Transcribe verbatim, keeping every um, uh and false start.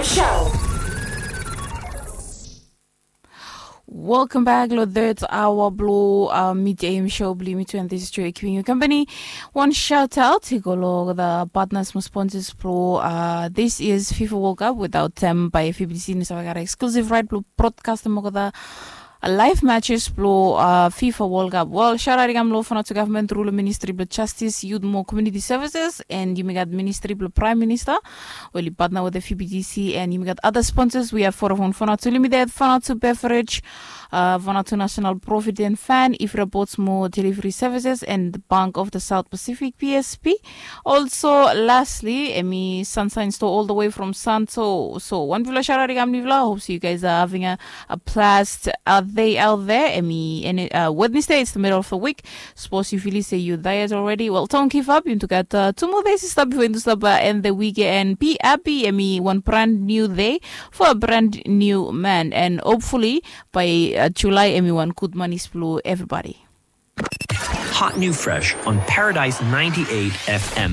Show. Welcome back lo third hour blo uh, mid am show blo mi twenty three keeping you company. One shout out i go lo the partners mo sponsors blo uh, this year's fifa world cup without them by fbc ni save got exclusive right blo broadcast mo the live matches blo uh, fifa world cup. Well, shout out i kam lo fanatu government rural ministry blo justice, youth mo community services, and yumi got ministry blo prime minister. Well, i partner with the fbtc and yumi got other sponsors. We have Vodafone Fanatu Limited, Fanatu Beverage, uh, Fanatu National Provident Fan, Ifra Botsmo Delivery Services, and the Bank of the South Pacific, psp. Also, lastly, emi Sunshine Store all the way from Santo. So one vila shout out i kam ni vila. Hope so you guys are having a, a blast out there, out there. Emi, and uh, Wednesday, it's the middle of the week. Suppose you feel say you diet already. Well, don't give up. You got uh, two more days to stop before you stop uh, end the week and be happy. Emi one brand new day for a brand new man. And hopefully by uh, July, emi one good money splu everybody. Hot new fresh on Paradise ninety-eight F M.